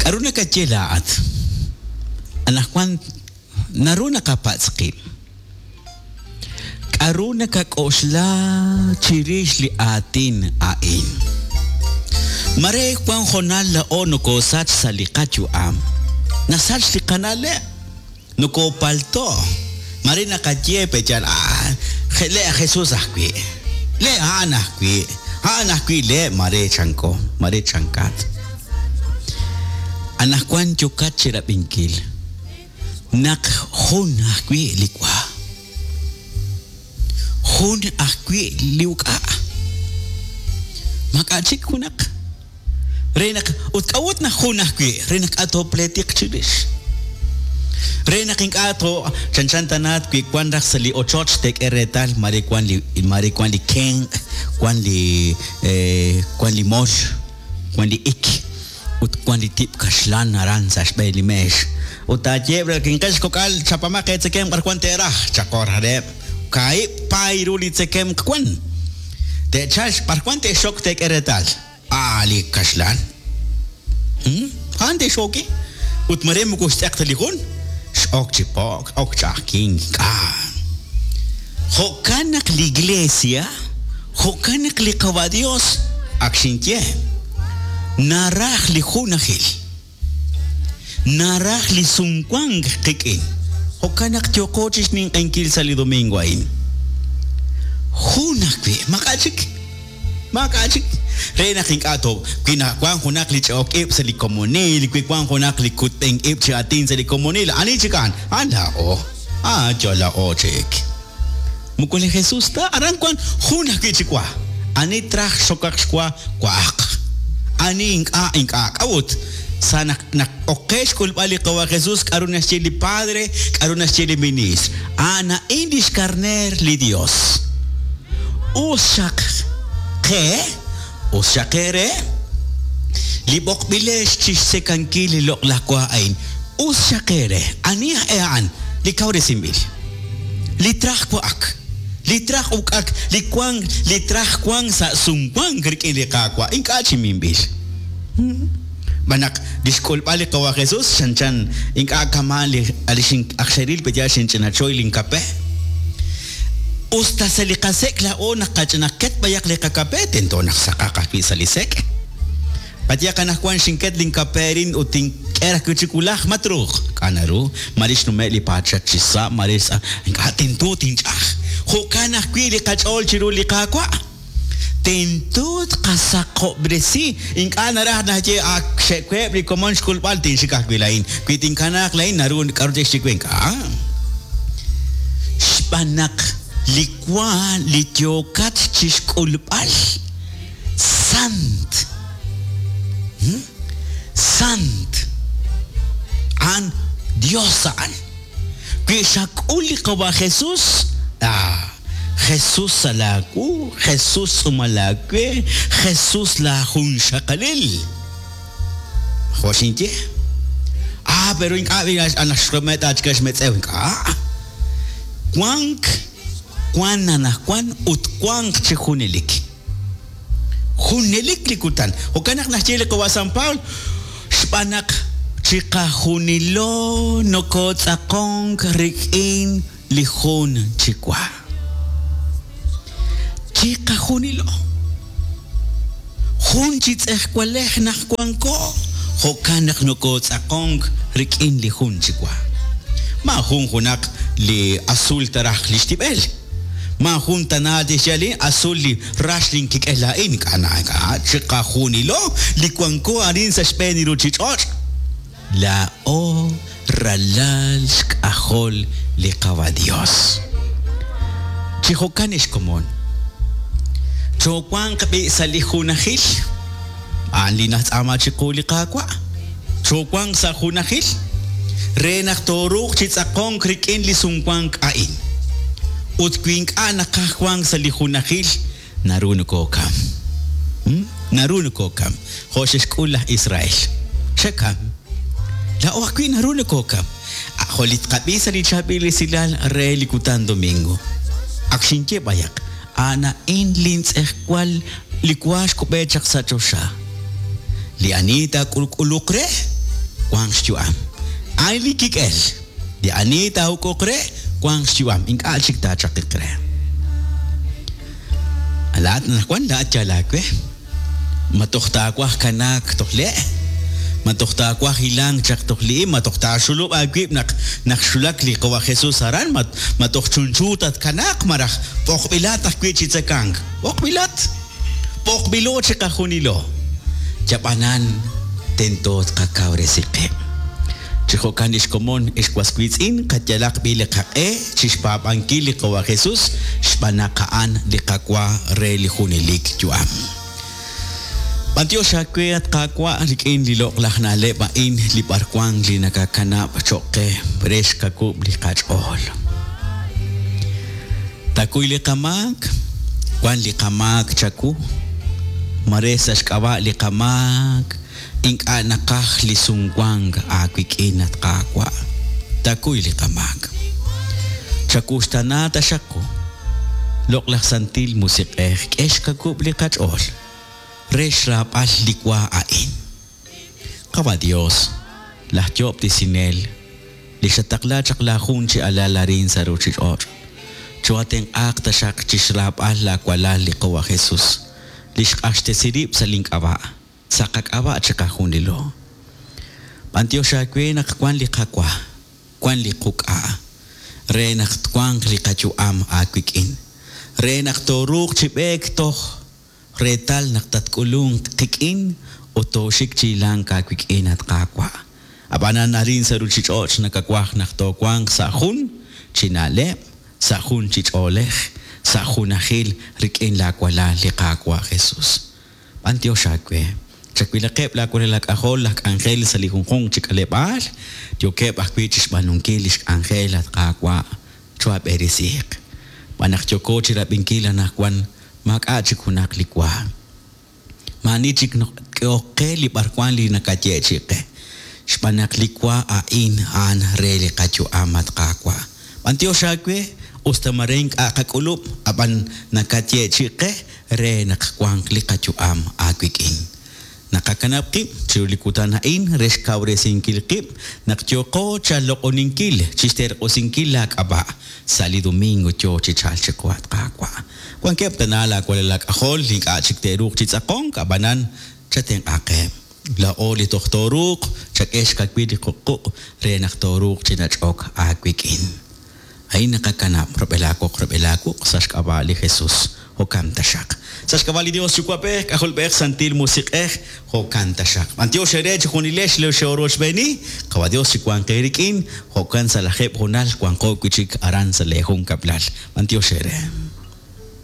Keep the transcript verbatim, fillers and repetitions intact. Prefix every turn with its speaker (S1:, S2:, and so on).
S1: K'aru nakaye laa'at? Anaqwan naru naqapatz' qib'. K'aru nakak'oxla chirix li aatin a'in? Mare wan hoonal laa'o nokosach sa' li qayu'am. Nasach li qana'leb'. Nokopalto'. Mare naqaye peyal, ah, le Jesús ajwi'. Le a'an ajwi'. A'an ajwi' le mare chanko, mare chankat. Anaqwan yokat chirab'inkil naq jun ajwi' li wa. Jun ajwi' li uk'a'. Maak'a' chik junaq. Re naq ut k'a'ut naq jun ajwi' re naq k'a' toopletiq chirix. Re naq ink'a' to chanchan tanaat wi wan raj sa' li ochoch teek'e reetal mare wan li mare wan li kenq', wan li eh, wan li mol, wan li ik, ut wan li tib' kaxlan aran sa' xb'een li meex. Ut taayeb' re kinqex kok'al chapamaq eetzekem b'ar wan teeraj chaqor hareb' kaahib' paay ru li tzekemq wan. Te'chalx b'ar wan te'xok teek'e reetal. Ah, li kaxlan. Hmm? A'an te'xoki. Ut mare moko xtz'eq ta li jun. X'ok chi po'k, ok ch'a'ajkink, ink'a'. Jo'kan naq li iglesia, jo'kan naq li Qawa' Dios, ak xinye, naraj li junajil. Naraj li sumwank qik'in. Jo'kan naq yooqo chi xninq'enkil sa' li domingo a'in. Jun ajwi', maak'a' chik. Maak'a' chik. Re naq ink'a' to wi wan junaq li ch'a'ok ib' sa' li komonil, wi wan junaq li kutb'enk ib' chi aatin sa' li komonil, ani chik a'an? A'an laa'o. Ah, yo laa'o chik. Moko li Jesús ta, aran wan jun ajwi' chi wa. Ani traj xokaq xwa, wa'aq. Ani ink'a' ink'a' k'a'ut. Sa naq naq oqe xk'ulb'al li Qawa' Jesús, k'aru naxye li Padre, k'aru naxye li ministr. A'an a'in lix karner li Dios. Us xaq qe, us xaq eere, li b'oqb'ilex chixtzekankil li loq'laj wa a'in. Us xaq eere, ani aj e a'an? Li kawresinb'il. Li traj wa'ak, li traj uk'ak, li wank, li traj wank sa' sumwank rik'in li Qaawa', ink'a' chi minb'il. B'anaq li xk'ulb'al li Qawa' Jesús chanchan ink'a' kama' li li xin ak xeril peya xinch'inachoy linkape. Usta sa' li qasek' laa'o naq qach'inaqket b'ayaq li qakape, tento naq saqaq ajwi' sa' li sek'. Qayaq anaqwan xinket linkape rin ut tink'e raj wi' chik wulaj, ma truuq. K'a' naru, mare xnume' li paachat chi sa', mare sa', ink'a' tento tinch'aj. Jo'kan ajwi' li qach'ool chiru li Qaawa'. Tento tqasaqob'resi. Ink'a' naraj naxye, ak xe'web' li komon xk'ulb'al, tinxik ajwi' laa'in. Wi tinkanaaq laa'in, naru k'aru te'xye we, ink'a'. Xb'aan naq li wa li yookat chixk'ulb'al, sant. Hmm? Sant. A'an Dios a'an. Wi xak'ul li Qawa' Jesús, ah, Jesús sa' laawu, Jesús tz'uumal laawe, Jesús laajunxaqalil. Jo' xinye. Ah, pero ink'a' anaq xromet achik xmetz'ew ink'a'. Wank, wan anaqwan ut wank chi junelik. Junelik li kutan. Jo'kan naq naxye li Qawa' San Pablo, xb'aan naq chiqajunilo nokotz'aqonk rik'in li jun chi wa. Chiqajunilo. Jun chi tz'ejwalej naq wanko, jo'kan naq nokotz'aqonk rik'in li jun chi wa. Ma jun junaq li azul taraj li xtib'el. Ma jun tana tixye li azul li rax linkik'el laa'in, ink'a' na ink'a' chiqajunilo li wanko arin sa' xb'een li ruchich'och'. Laa'o ralal xk'ajol li Qawa' Dios. Chi jo'kan ex komon. Choowanq b'i' sa' li junajil. A'an li najtz'aama chiqu li Qaawa'. Choowanq sa' junajil re naq tooruuq chi tz'aqonk rik'in li sumwank a'in. Ut wi ink'a' naqaj wank sa' li junajil, naru nokookam. Hmm? Naru nokookam. Jo' xe'xk'ul laj Israel. Xe'kam. Laa'o ajwi' naru nokookam. Ah, jo' li tqab'i sa' li chaab'il esilal re li kutan domingo. Ak xinye b'ayaq, a'an a'in lintz'ejwal li wa xkub'e chaq sa' choxa. Li ani taak'ulk'uluq re, Wanq xyu'am. A'in li kik'el. Li ani taa'uk'uq re, wanq xyu'am. Ink'a' chik taachaqiq re. Laa'at anaqwan laa'at yal aawe. Ma toj taawaj kanaak toj le'? Ma toj taawaj hilank chaq toj li'im? Ma toj taaxulub' aawib' naq naq xulak li Qawa' Jesus aran? Ma ma toj chunchu tatkanaaq maraj b'oqb'ilat ajwi' chi tzekank? B'oqb'ilat. B'oqb'ilo chiqajunilo. Yab'anan tento tqakawresi qib'. Chi jo'kan lix komon ex was wiitz'in qayalaq b'i li qaq'e chixpaab'ankil li Qawa' Jesus xb'aan naq a'an li qawa re li junelik yu'am. B'antiox aawe at Qaawa' rik'in li loq'laj na'leb' a'in li b'arwan li nakakanab' cho'q qe re xkakub' li qach'ool. Takuy li qamaak, wan li qamaak chawu, mare sa' xk'ab'a' li qamaak, ink'a' naqaj li sumwank aawik'in at Qaawa'. Takuy li qamaak. Chakuxtana taxaq qu. Loq'laj santil musiq'ej k'e xkakub' li qach'ool. Re xraab'al li wa a'in. Qawa' Dios, laj yoob'tesinel, li xataqla chaq laajun chi alal arin sa' ruuchich'och'. Choatenq'aaq taxaq chixraab'al laawalal li Qawa' Jesus, li xq'axtesi rib' sa' link'ab'a', sa' qak'ab'a' chiqajunilo. B'antiox aawe naq wan li qawa, wan li quk'a', re naq twanq li qayu'am aawik'in, re naq tooruuq chi b'eek toj reetal naq tatk'ulunq qik'in ut tooxik chi hilank aawik'in at Qaawa'. Ab'anan arin sa' ruuchich'och' nakawaj naq toowanq sa' jun chi na'leb', sa' jun chi ch'oolej, sa' junajil rik'in laawalal li Qaawa' Jesus. B'antiox aawe. Chawilaqeb' laawalal laak'ajol laj k'anjel sa' li junjunq chi k'aleb'aal, yookeb' ajwi' chixb'aanunkil lix k'anjel at Qaawa' choab'erisiiq. B'an naq yooko chirab'inkil anaqwan maak'a' chik junaq li wa. Maani chik k'ehok qe li b'arwan li nakayeechi qe. Xb'aan naq li wa a'in a'an re li qayu'am at Qaawa'. B'antiox aawe usta mare ink'a' qak'ulub' ab'an nakayeechi qe re naq wanq li qayu'am aawik'in. Naqakanab' qib' chiru li kutan a'in re xkawresinkil qib' naq yooqo chaloq'oninkil chixterq'usinkil laak'ab'a' sa' li domingo yoo chi chalk chiqu at Qaawa'. Wankeb' tana laawalal laak'ajol ink'a' chik te'ruuq chi tz'aqonk ab'anan chatenq'aqeb'. Laa'o li toj tooruuq chak'e xkawil li quq'uq' re naq tooruuq chi nach'ok aawik'in. A'in naqakanab' rub'el aawoq rub'el aawuq sa' xk'ab'a' li Jesus. Jo'kan taxaq. Sa' xk'ab'a' li Dios Yuwa'b'ej, K'ajolb'ej, Santil Musiq'ej, jo'kan taxaq. B'antiox eere chi junilex li xe'orochb'eeni, Qawa' Dios chi wanq eerik'in, jo'kan sa' lajeb' junal wanqo wi' chik aran sa' lee jun kab'lal. B'antiox eere.